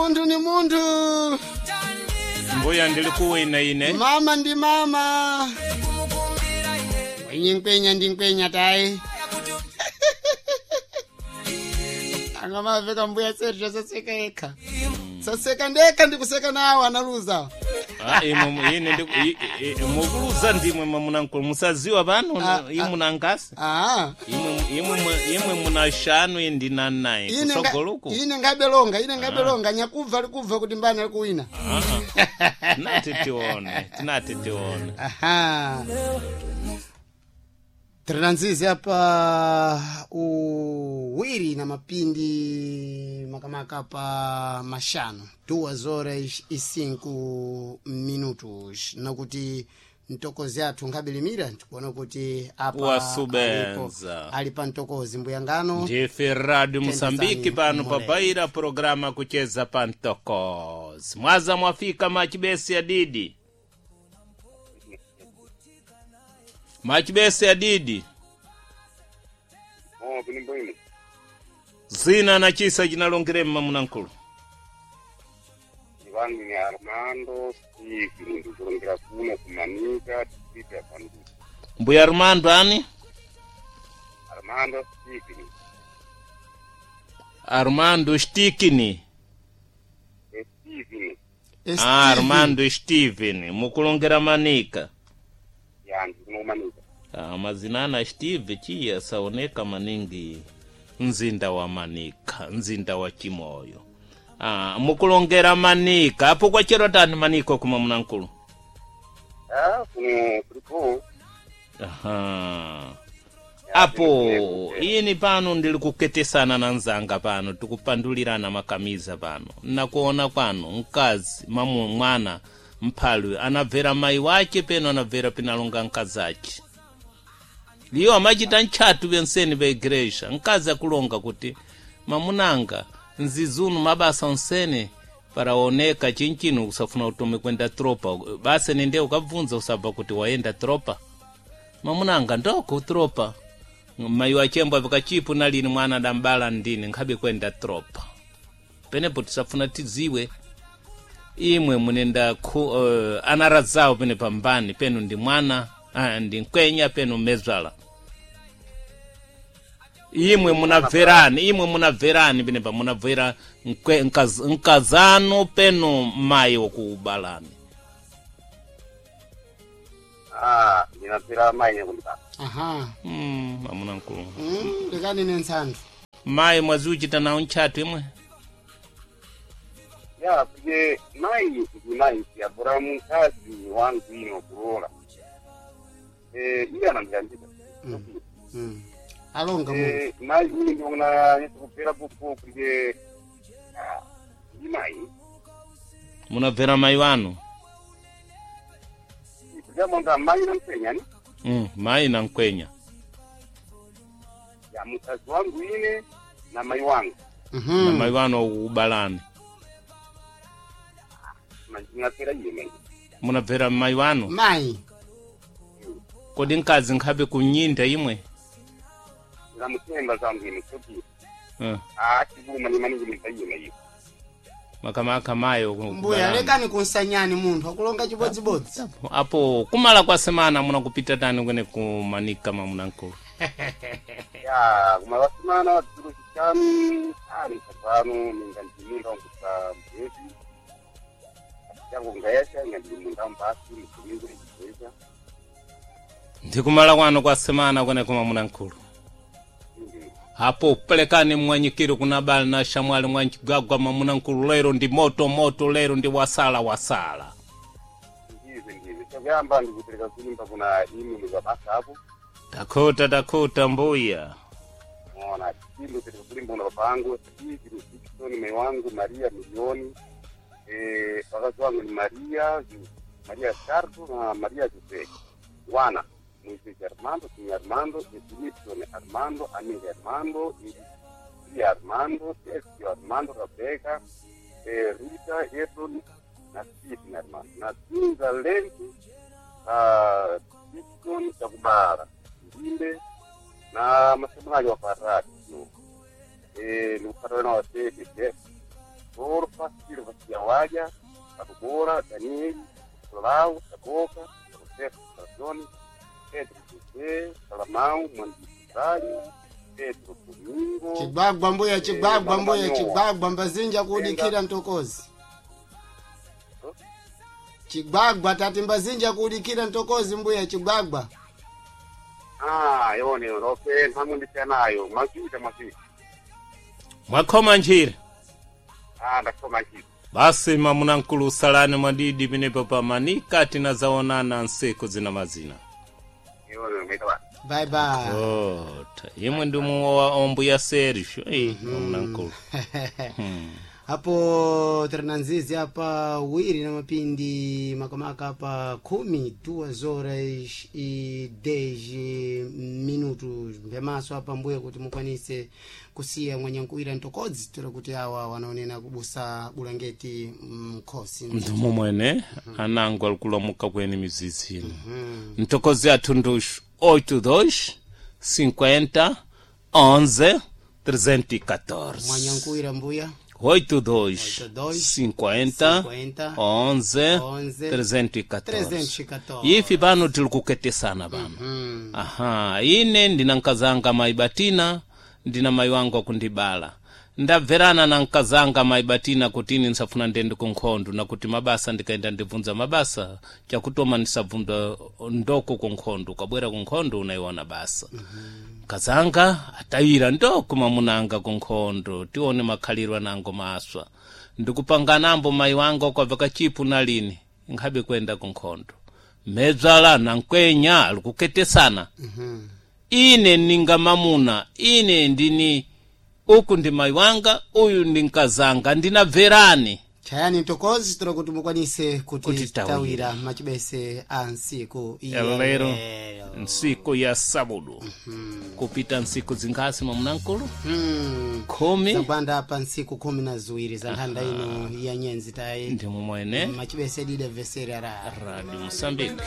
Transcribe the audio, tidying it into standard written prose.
Munthu ni munthu. Mbuya ndili kuwina ine. Mama ndi mama. Mwenye nkwenya ndi nkwenya tayi. Angamaveka mbuya Sergio saseka yekha. Saseka ndekha ndikuseka nawo analuza. Ah, imwe ine ndi mukuluza ndimwe mamunankulu musaziwa pano Ah, imwe nankasi. Ah. Imwe muna shanu indi na nayi Ine nga- kusogoluku. ine ngabelonga, ine ngabelonga nyakubva likubva kuti mbani ali kuwina. Tinati tione, tinati tione. Aha. Tirinanzizi apa uwiri na mapindi makamaka pa mashanu 2:05 nakuti mtokozi athu nkabilimira ndikuona kuti apa Wasubenza. ali pa mtokozi mbuyangano. Ndife Radio Mosambiki pano Mule. pabaira programa kucheza pa mtokozi. Mwaza mwafika machibesi ya didi. Machibesi ya didi. Oh, bwino bwino. Zina na chisa chinalongere mmamunankulu. Vangu ni Armando Steve, ndikulongera kuno kumanika district ya Bandu. Mbuya Armando ani? Armando Steve, Armando Stikini. Steve Ah, Armando Steven mukulongera manika. ya ndikuno kumanika. Ah, mazina ana Steve chiya saoneka maningi mzinda wa Manika, mzinda wa Chimoyo. Ah, mukulongera manika apo kwachero tani manika kuma munankulu. Ah, kuno kuliko. Aha. Apo ini pano ndili kuketesana na nzanga pano tikupandulirana makamiza pano nakuona kwano mkazi mamu mwana mphalwe anabvera mayi wace peno anabvera pinalonga mkazi ace liyo amachita ntchatu penseni pa igreja mkazi akulonga kuti mamunanga nzizunu mabasa onsene paraoneka chinchino usafuna utume kwenda tropa basi ninde ukabvunza usabva kuti wayenda tropa mamunanga ndoko tropa mayi wachembwa pakachipu nalini mwana adambala ndine nkhabe kwenda tropa penepo tisafuna tidziwe imwe munenda anaradzawo pene pambani penu ndi mwana ndi mkwenya penu mezwala imwe munabverani imwe munabverani penepa munabvera nkazano penu mayi wokuubalani. Ah, ndinapera mai nyakundibasa. Aha. Amuna mkulu. Ndikani nensanthu. Mayi mwazi uchita nawo ntchatu imwe. Ya, kuye mai ndi mai yabura mkazi wangu ino kulola. Eh, iye anandiyandika. Alonga munthu. Eh, mai ini ndiona yesikupera kupo kuye ah, ndi mai. Munabvera mayi wanu. Kujamonga mai namsenya ni. Mayi na mkwenya. Ya mkazi wangu ine na mai wangu. Na mayi wanu wokuubalani. Ndinapera iye mai. Munabvera mayi wanu. Mayi. Kodi mkazi nkhabe kunyinda imwe. Ndamutemba zangu ine kuti ah chibuma ni maningi ni iye mai. Makamaka mayi Mbuya wokuubalani. lekani kunsanyani munthu akulonga chibodzibodzi. Apo kumala kwa semana munakupita tani kwene kumanika mamunankulu. Ya kumavasimana dziro chishanu ari pano ninga ndimunda wangusa mbezi. Changu ngayasha inga ndimunda mbasi mukumingu nechibweza. Ndikumala kwano kwa semana kwene kumamunankulu. Apo pelekani mwanyikiro kuna bali na shamwali mwanchigagwa mamunankulu lero ndi moto moto lero ndi wasala wasala. Ndize ndize chakuyamba ndikupereka kulimba kuna imi mukabasa apo. Takuta takuta mbuya. Ona chimbo pereka kulimba kuna baba angu Steve Dickson mai wangu Maria Milioni. Eh, wakazi wangu ni Maria Maria Sardo na Maria Jose. Wana Moisés Armando, Signe Armando, Edilson Armando, Amiga Armando, Lia Armando, Sergio Armando, Rebeca, Rita, Edson na Stephen Armando. Na Zinza Lenti, Dickson Chakubara, Ndimbe na masemulaji wa Farati. Nikupatana na wasee Dorfa, Silva Siawaja, Kabubora, Daniel, Solau, Saboka, Roberto Sazoni, Pedro José, Salamão, Mandisali, Pedro Domingo. Chigwagwa mbuya, chigwagwa Eh, mbuya, Mama chigwagwa mbazinja kuudikira mtokozi. Chigwagwa tati mbazinja kuudikira mtokozi mbuya, chigwagwa. Ah, yone, okay, nhamu ndisiyanayo, mazuita mazuita. Mwakhoma njira. Ah, ndakhoma njira. Basi mamuna mkulu usalani mwadidi pinepo pamanika tinazaonana nsiku zina mazina. Yone, maita basi. Bye bye. Ota, imwe ndi muwa ombuya Sergio. Eh, mamuna mkulu. Apo tiri nzizi apa wiri na mapindi makamaka apa 12:10 mpemaso apa mbuye kuti mukwanise kusiya mwanyankuwira ntokodzi tira kuti awa wanaonena kubusa bulangeti mkhosi. Mndumu mwene anango alikulomuka kweni mizizi ino. Ntokozi athu ndushu 82 50 11 314. Mwanyankuwira mbuya. 82 82 50 50 11 11 314. 314. Ifi pano tili kuketesana pano. Aha, ine ndina nkazanga mayi Batina, ndina mayi wangu akundibala. Ndabverana na nkazanga mayi Batina kuti ine nsafuna ndende kunkhondo, nakuti mabasa ndikaenda ndibvunza mabasa chakutoma ndisabvunza ndoko kunkhondo, ukabwera kunkhondo unaiona basa. Nkazanga atayira ndoko mamunanga kunkhondo, tione makhaliro anango maswa. Ndikupanganambo mayi wanga ukwabva kachipu nalini nkhabe kwenda kunkhondo. Medzala na nkwenya alikuketesana. Ine ninga mamuna, ine ndini uku ndi mayi wanga, uyu ndi nkazanga, ndinabverani. Chayani ntokozi tira kuti mukwanise kuti Kutitawira. tawira machibese a nsiku iya Lero lero. nsiku ya sabudu kupita nsiku zinkhasi mamunankulu 10 Zagwanda pa ntsiku 12 za nthanda ino ya nyenzi tayi ndi mumwene machibese dida vesera ra Radio Mosambike.